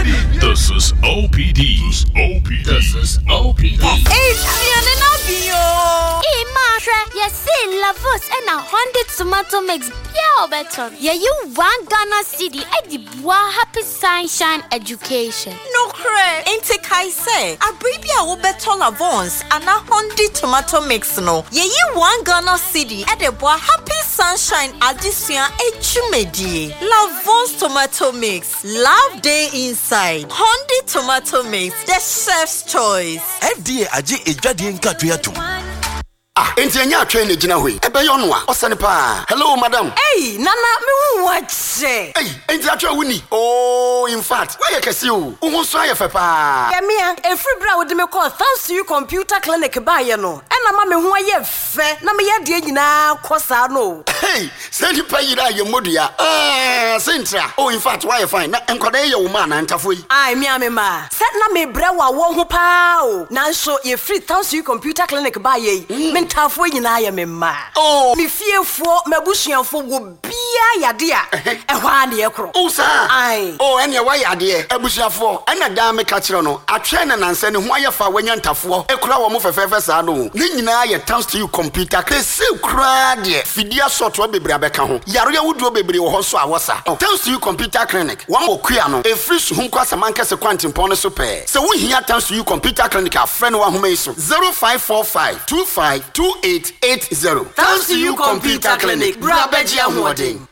This is OPD. OPD. This is OPD. Aduane no abi o. Ee maa hwɛ, yɛse Lavos ɛna Honda tomato mix bia a ɔbɛtɔ no, yɛyi 1 Ghana cedi ɛde boa Happy Sunshine Education. Nokorɛ, enti kae sɛ abere bi a wobɛtɔ Lavons anaa Hondi tomato mix no, yɛyi 1 Ghana cedi ɛde boa Happy Sunshine adesua adwumadie. Lavons tomato mix, love dey inside. Hondi tomato mix, the chef's choice. FDA agye edwadeɛ nkatoe atom. Ah, enti ɛnyɛ atwɛn na gyina hɔ yi, ɛbɛyɛ ɔno a ɔsɛne paa. Hello, madam. Ei, Nana, mehu wo akyɛ. Ei, enti atwɛn wo ni? Oh, in fact, woayɛ kɛse o. Wo ho nso ayɛ fɛ paa. Yɛmea, ɛfiri berɛ a wode me kɔɔ Thanks to You Computer Clinic baeɛ no, ɛna ma me ho ayɛ fɛ na meyɛ adeɛ nyinaa kɔ saa no o. Hey, sɛ nipa yere a yɛ mmɔdua. Ah, sɛ oh, in fact, woayɛ fine. Na nkwadaa yi yɛ wo ma anaa ntafoɔ yi? Ai, me a me ma sɛ na mebrɛ wɔ awɔ ho paa o, nanso yɛfiri Thanks to You Computer Clinic baeɛ yi, me ntaafoɔ nyinaa yɛ me mma. Oh. Me fiefoɔ, m'abusuafoɔ wɔ biaa yade a ɛhɔ a ne yɛkorɔ. Oh, saa? Ai. Oh, ɛneɛ woayɛ adeɛ. Abusuafoɔ, ɛna daa meka kyerɛ no, atwɛn na nansɛ ne ho ayɛ fa a wanya ntafoɔ ekura wɔ mo fɛfɛɛfɛ saa no o. Ne nyinaa yɛ Thanks to You Computer. Kɛse koraa deɛ, fidie asɔɔtoɔ bebree abɛka ho. Yareɛ ahodoɔ bebree wɔ hɔ nso a wɔsa. Thanks to You Computer Clinic, wɔn wɔ kua no, ɛfiri Suhum kɔ Asamankɛse kwantempɔn no so pɛɛ. Sɛ wohia Thanks to You Computer Clinic a, frɛ no wɔ ahoma yi so: 0545 25 2880. Thanks to You Computer Clinic, bra bɛgye ahoɔden.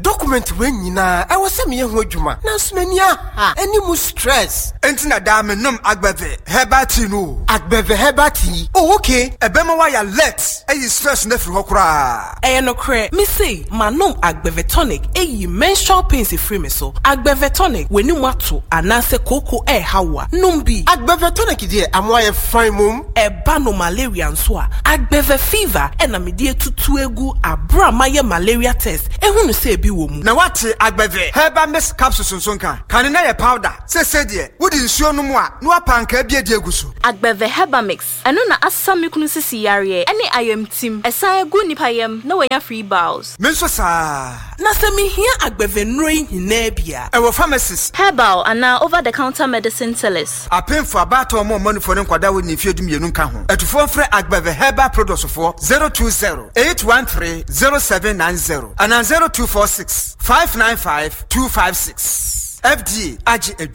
Document wei nyinaa ɛwɔ sɛ meyɛ ho adwuma, nanso m'ani aha ɛne mu stress. Enti na daa menom Agbɛve herbal tea no o. Agbɛve herbal tea? Oh, okay. Ɛbɛma woayɛ alert, ayi stress no afiri hɔ koraa. Ɛyɛ nokorɛ, me sei manom Agbɛvɛ tonic, ɛyi menstrual pains efiri me so. Agbɛvɛ tonic, w'anim ato anaasɛ kooko ɛɛha wo a, nom bi. Agbɛvɛ tonic deɛ, amoa yɛ fine mom. Ɛba no malaria nso a, Agbɛvɛ fever ɛna mede atutu egu abere a mayɛ malaria test ehunu sɛ ebi wɔ mu. Na woate Agbɛve herbal mix capsules nso nka? Kane na yɛ powder, sese deɛ wode nsuo no mu a na woapa ankaa bi adi egu so. Agbɛvɛ herbal mix, ɛno na asa me kunu sisi yareɛ ɛne ayamtim, ɛsan egu nipa yam na wanya free bowels. Me nso saa. Na sɛ mehia agbɛvɛ nnuro yi nyinaa bi a, ɛwɔ pharmacies, herbal anaa over the counter medicine sellers. Apemfo, abaatɔ ma ɔmanufoɔ ne nkwadaa wɔ ne mfeɛ 12 nka ho. Atufoɔ mfrɛ Agbɛvɛ herbal products foɔ 020 813 0790 anaa 0246 595 256. FDA agye adwa.